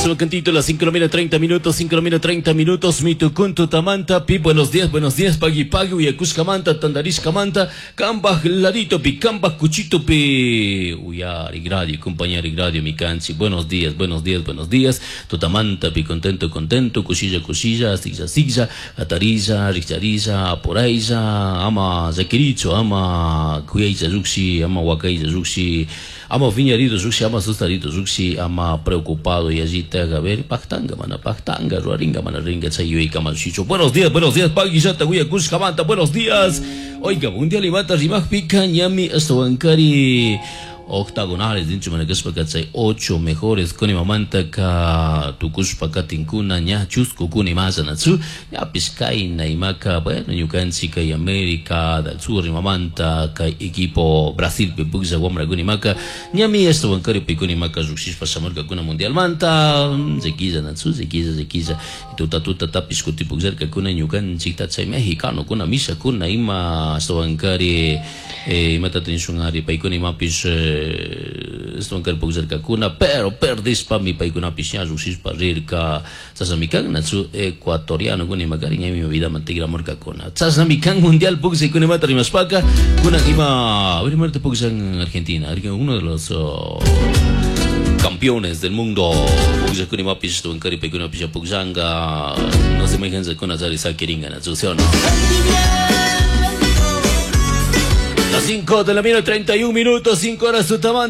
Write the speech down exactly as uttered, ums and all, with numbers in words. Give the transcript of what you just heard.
Solo cantito, las cinco de la treinta minutos, cinco de la treinta minutos, mitukuntu tamanta, pi, buenos días, buenos días, pagui pagui, uyakushkamanta, tandarishkamanta, kambaj ladito pi, kambaj cuchito pi, uyari radio, compañero radio, mi canchi, buenos días, buenos días, buenos días, tutamanta pi, contento, contento, cuchilla, cuchilla, siglla, siglla, atarilla, richarilla, aporailla, ama zakiricho, ama kuyaicha ruxi, ama wakaicha ruxi, ama viñarido ruxi, ama sustarito ruxi, ama preocupado y allí te a ver, pactanga, mana, pactanga, ruaringa, mana, ringa, chayuy, kamachicho. Buenos días, buenos días, Pagui, Yata, Huya, buenos días. Oiga, mundial y mata, rimaj, pica, ñami, astawankari octagonales dincho manakashpa chay ocho mejores kuni mamanta ka tukushpa katinkuna ña chusku kuni masanachu ñapish kayna imaka bueno ñukanchik kay América del Sur imamanta kay equipo Brasil pi puklla wamrakuna imaka ñami ashtawankari paykuna imaka llukshishpa shamurkakuna mundialmanta llaquilla nachu llaquilla llaquilla tuta tuta tapish kuti pukllarkakuna ñukanchikta chay mexicanokuna mishakuna ima ashtawankari eh, imatata nishun ari paykuna imapish eh, ashtawankari pukllarkakuna pero perdishpami paykunapish ña llukshishpa rirka chashnami kan nachu ecuatoriano kuna imakari ñami vidaman tikramurkakuna chashnami kan mundial pukllaykuna imata rimashpaka kunan ima a ver imarta pukllan Argentina uno de los oh, campeones del mundo pukllakuna imapish ashtawankari paykunapish pukllanka no se mayhan chari sakirinka nachu ¿sí o no? Las cinco de la mañana, treinta y un minutos, cinco horas tutamanta.